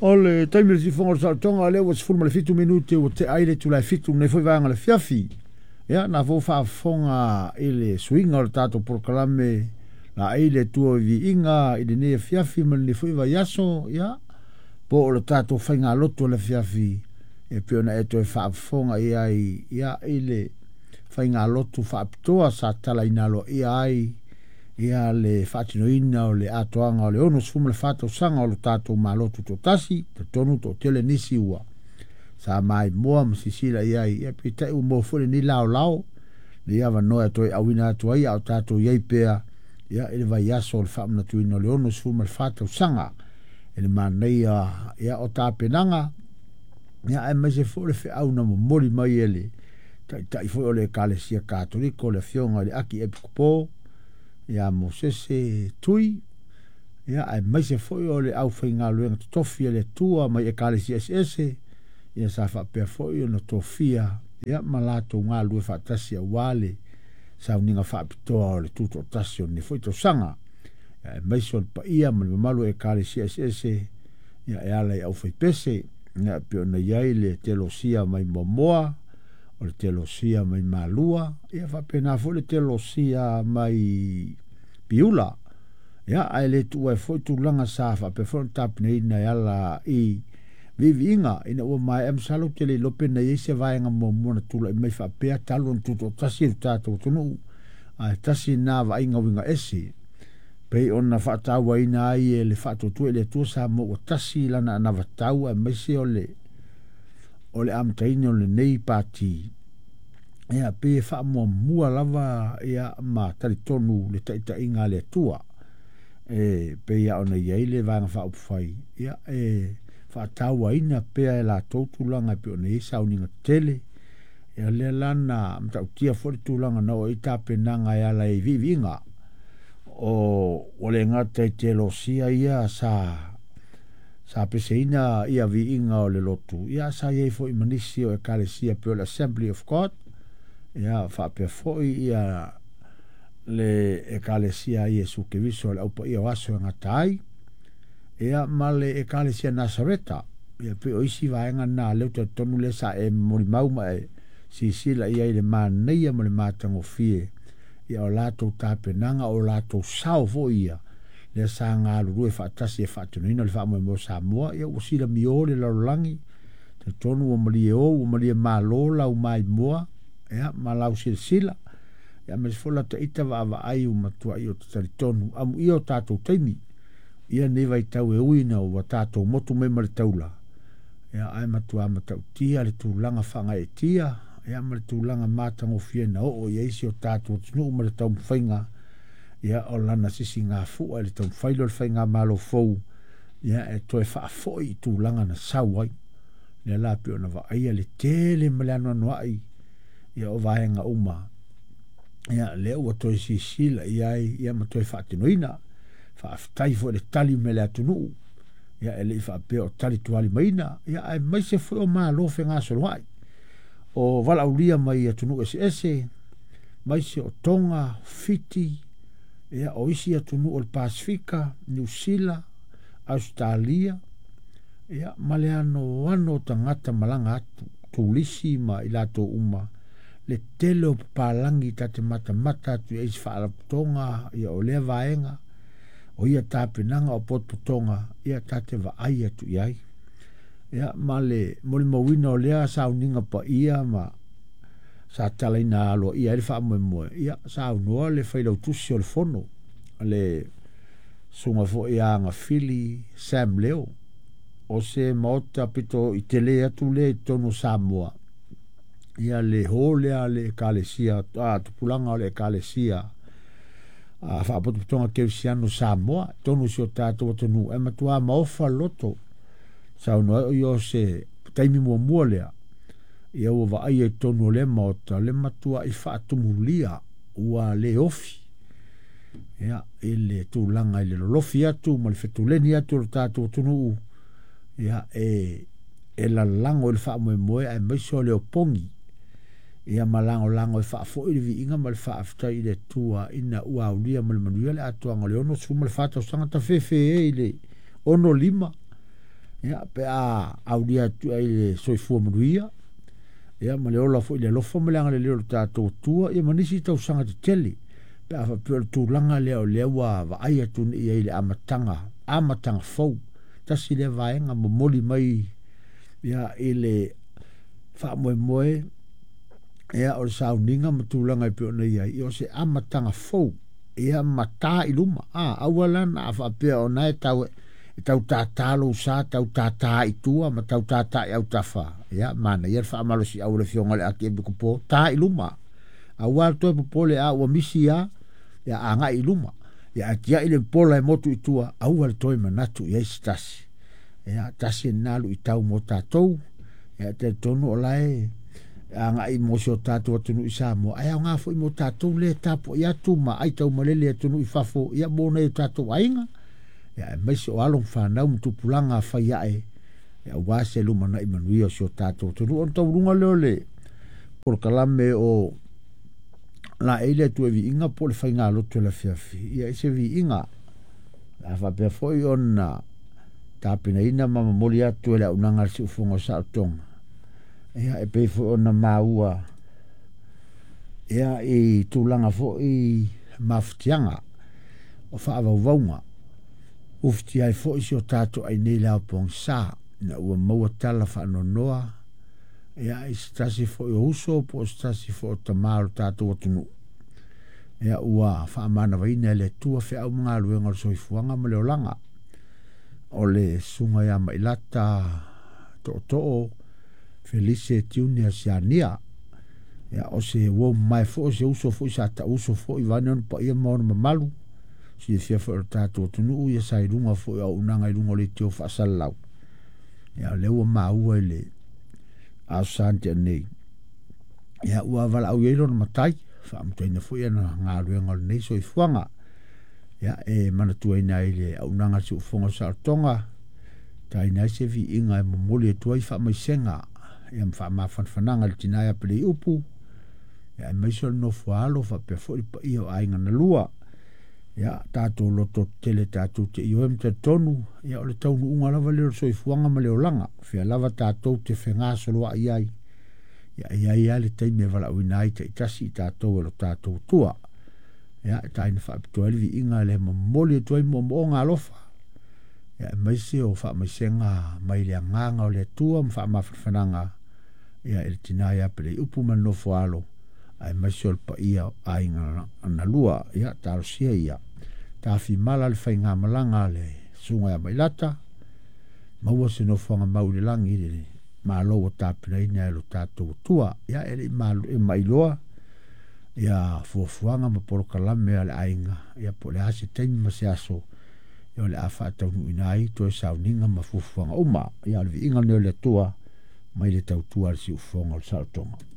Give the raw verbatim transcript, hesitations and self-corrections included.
O le taimi o le sifoga o le saolotoga lea ua sefulu ma le fitu minute ua tea ai le itula e fitu lenei foi vaega o le afiafi. Ia na foi faafofoga i le suiga o le tatou polokalame laei le Atua i viiga i lenei afiafi ma lenei foi vaiaso, ia po o le tatou faigalotu o le afiafi e pei ona e toe faafofoga i ai ia i le faigalotu faapitoa sa talaina aloaia ai ia le faatinoina o le atoaga o le ono sefulu ma le fa tausaga o le tatou Malo Tutoatasi. Talitonu toatele nisi ua sa maimoa ma sisila i ai, ia peitai ua maua foi lenei laolao lenei avanoa e toe auina atu ai a o tatou i ai pea ia i le vaiaso o le faamanatuina o le ono sefulu ma le fa tausaga e le manaia ia o tapenaga ia aemaise foi le feau na momoli mai e le taitai foi o le Ekalesia Katoliko, le afioga i le Aki Epikopo ia Mosese Tui, ia aemaise foi o le aufaigaluega totofi a le Atua mai Ekalesia eseese ia sa faapea foi ona tofia ia ma latou galulue faatasi aua le sauniga faapitoa o le tutoatasi o lenei foi tausaga, ia aemaise o le paia ma le mamalu o Ekalesia eseese ia e ala i aufaipese ia pei ona i ai le telosia mai Moamoa, o le telosia mai Malua, ia faapena foi le telosia mai Piula. Ia ae le tuua ai foi tulaga sa faapea foi ona tapenaina e ala i viiviiga ina ua maea. Masalo ou te le iloa pe na i ai se vaega muamua na tulai mai faapea talu ona tutoatasi le tatou atunuu, ae tasi lena vaaiga uiga ese pei ona faatauaina ai e le Faatuatua i le Atua Samoa ua tasi lana anavatau aemaise o le o le amataina o lenei pati. Ia pei e faamuamua lava ia ma talitonu le taitaiga a le Atua e pei lava ona i ai le vaega faaupufai ia e faatauaina pea e latou tulaga e pei ona i ai sauniga tetele. Ia lea la na matautia foi le tulaga na oo i tapenaga e ala i viiviiga o ua le gata i telosia ia sa sa peseina ia viiga o le lotu, ia sa i ai foi ma nisi o Ekalesia pei o le Assembly of God, ia faapea foi ia le Ekalesia a Iesu Keriso o le Aupaia o Aso e Gata ai, ia ma le Ekalesia Nasareta. Ia pei o isi vaega na lea ou te talitonu lea sa e molimau ma e sisila i ai i le manaia ma le matagofie ia o latou tapenaga o latou sao foi ia lea sa galulue faatasi e faatinoina le faamoemoe o Samoa. Ia ua silamio le lalolagi, talitonu ua malie o ua malie malo lau maimoa ia ma lau silasila ia aemaise foi lata ita vaavaai ua matuai ou te talitonu amuia o tatou taimi ia nei vaitau e ui ina ua tatou motu mai ma le taula, ia ae matua matautia le tulaga faagaeetia ia ma le tulaga matagofie na oo i ai si o tatou atunuu ma le taumafaiga ia o lana sisigafua i le taumafai lea o le faigamalo fou ia e toe faafoi i tulaga na sau ai. Lea la pei ona vaaia le tele ma le anoanoai ia o vaega uma ia lea ua toe sisila i ai ia ma toe faatinoina. Faafetai foi i le tali mai a le atunuu ia e le i faapea o tali tualimaina ia aemaise foi o malo fegasoloai o valaaulia mai atunuu eseese maise o Toga, Fiti, ia o isi atunuu o le Pasefika, Niu Sila, Ausetalia, ia ma le anoano o tagata malaga atu, turisi ma i latou uma, le tele o papalagi ta te matamata atu i ai i isi faalapotopotoga ia o lea vaega o ia tapenaga o potopotoga ia ta te vaai atu i ai. Ia ma le molimauina o lea sauniga paia ma sa talaina aloaia ai le faamoemoe, ia saunoa le failautusi o le fono le susuga foi ia Agafili Sam Leo, o se maota pito i tele atu lea i totonu o Samoa ia le ho lea a le Ekalesia a tupulaga o le Ekalesia a Faapotopotoga Kerisiano Samoa totonu o si o tatou atunuu e matua maofa loto. Saunoa ai o ia o se taimi muamua lea ia ua vaaia i totonu o lea maota le matuai faatumulia ua le ofi ia i le tulaga i le lolofi atu ma le fetuleni atu o le tatou atunuu ia e e lalago i le faamoemoe aemaise o le opogi ia ma lagolago e faafoi le viiga ma le faafetai i le Atua ina ua aulia ma le manuia le atoaga o le ono sefulu ma le fa tausaga tafefe e i le ono lima. Ia pe a aulia atu ai le soifua manuia ia ma le ola foi le alofa ma le agalelei o le tatou Atua ia ma nisi tausaga tetele pe a faapea o le tulaga lea o lea ua vaai atu nei ai i le amataga amataga fou tasi lea vaega momoli mai ia i le faamoemoe ia o le sauniga ma tulaga e pei ona i ai ia o se amataga fou ia ma tā i luma a aua la na a faapea ona e tau e tau tātā lou sa tau tātā i tua ma tau tātā i autafa ia manaia le faamalosiau o le afioga i le Akiepikopo tā i luma aua le toe popole a ua misi a ia agai i luma ia atiai le pola e motu i tua aua le toe manatu i ai se tasi ia tasi lena luitau mo tatou ia talitonu o lae agai mo si o tatou atunuu i Samoa ae aoga foi mo tatou lea e tapuai atu ma ai taumalele i atunuu i fafo ia mo nai o tatou aiga ia aemaise o alo ma fanau ma tupulaga fai ae ia aua se lumanai manuia o si o tatou atunuu. Ona taualuga lea o le polokalame o laei le Atua i viiga po o le faigalotu o le afiafi ia i se viiga a faapea foi ona tapenaina ma momoli atu e le auaunaga a le Siufofoga o Saolotoga ia e pei foi ona maua ia i tulaga foi mafatiaga o faavauvauga ufitia ai foi si o tatou ainei le ao pogisa ina ua maua tala faanoanoa ia i se tasi foi o uso po o se tasi foi o tamā o le tatou atunuu ia ua faamanavaina e le Atua feau ma galuega o le soifuaga ma le olaga o le susuga ia Mailata Tootoo Felise Tiune Asiania ia o se uo mamae foi o se uso foi sa tauso foi vaeane ona paia ma ona mamalu silafia foi o le tatou atunuu ia sa i luga foi o auaunaga i luga o leitio faasalalau ia o lea ua maua i le Aso Sa na tea nei ia ua valaau i ai lona matai faamutaina foi ana galuega o lenei soifuaga ia e manatuaina ai le auaunaga a le Siufofoga o Saolotoga taina ai se viiga e momoli atu ai faamaisega ia ma faamafanafanaga i le tina ia Peleiupu ia aemaise o le nofo a alo faapea foi le paia o aiga na lua ia tatou loto tetele tatou te ioe ma talitonu ia o le taunuuga lava lea o le soifuaga ma le olaga fea lava tatou te fegasoloai ai ia e i ai lava le taimi e valaauina ai taitasi i tatou e lo tatou Atua ia e taina faapitoa ai le viiga le momoli atu ai moomooga alofa ia aemaise o faamaisega mai le agaga o le Atua ma faamafanafanaga ia i le tina ia Peleiupu ma le nofo a alo aemaise o le paia o aiga na lua ia talosia ia tafimala le faigamalaga a le susuga ia Mailata maua se nofoaga mau i le lagi i le malo ua tapenaina e lo tatou Atua ia e le i mailoa ia fuafuaga ma polokalame a le aiga ia po o le a se taimi ma se aso ia o le a faataunuuina ai toe sauniga ma fuafuaga uma ia o le viiga lenei o le Atua mai le tautua a le Siufofoga o le Saolotoga.